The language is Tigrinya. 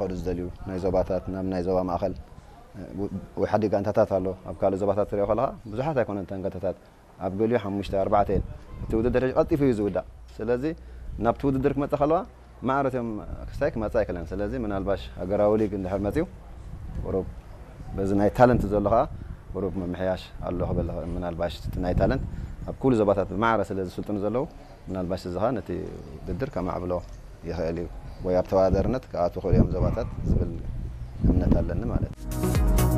ክኸዱ ዝደልዩ ናይ ዞባታት ናብ ናይ ዞባ ማእኸል ወይ ሓዲ ጋንታታት ኣሎ። ኣብ ካልእ ዞባታት ትሪኦ ከለኻ ብዙሓት ኣይኮነን እተን ጋንታታት፣ ኣብ ገሊኡ ሓሙሽተ ኣርባዕተ እየን። እቲ ውድድር ሕጂ ቀልጢፉ እዩ ዝውዳእ። ስለዚ ናብቲ ውድድር ክመጽእ ከለዋ ማዕረ እቶም ክስታይ ክመጽእ ኣይክእለን። ስለዚ ምናልባሽ ሃገራዊ ሊግ እንድሕር መጺኡ ቁሩብ በዚ ናይ ታለንት ዘሎ ኸዓ ቁሩብ ምምሕያሽ ኣሎ ክብል ይኽእል። ምናልባሽ እቲ ናይ ታለንት ኣብ ኩሉ ዞባታት ብማዕረ ስለ ዝስልጥኑ ዘለዉ ምናልባሽ እዚ ኸዓ ነቲ ውድድር ከማዕብሎ ይኽእል እዩ ወይ ኣብ ተወዳዳርነት ክኣትዉ ክኽእሉ እዮም ዞባታት ዝብል እምነት ኣለኒ ማለት እዩ።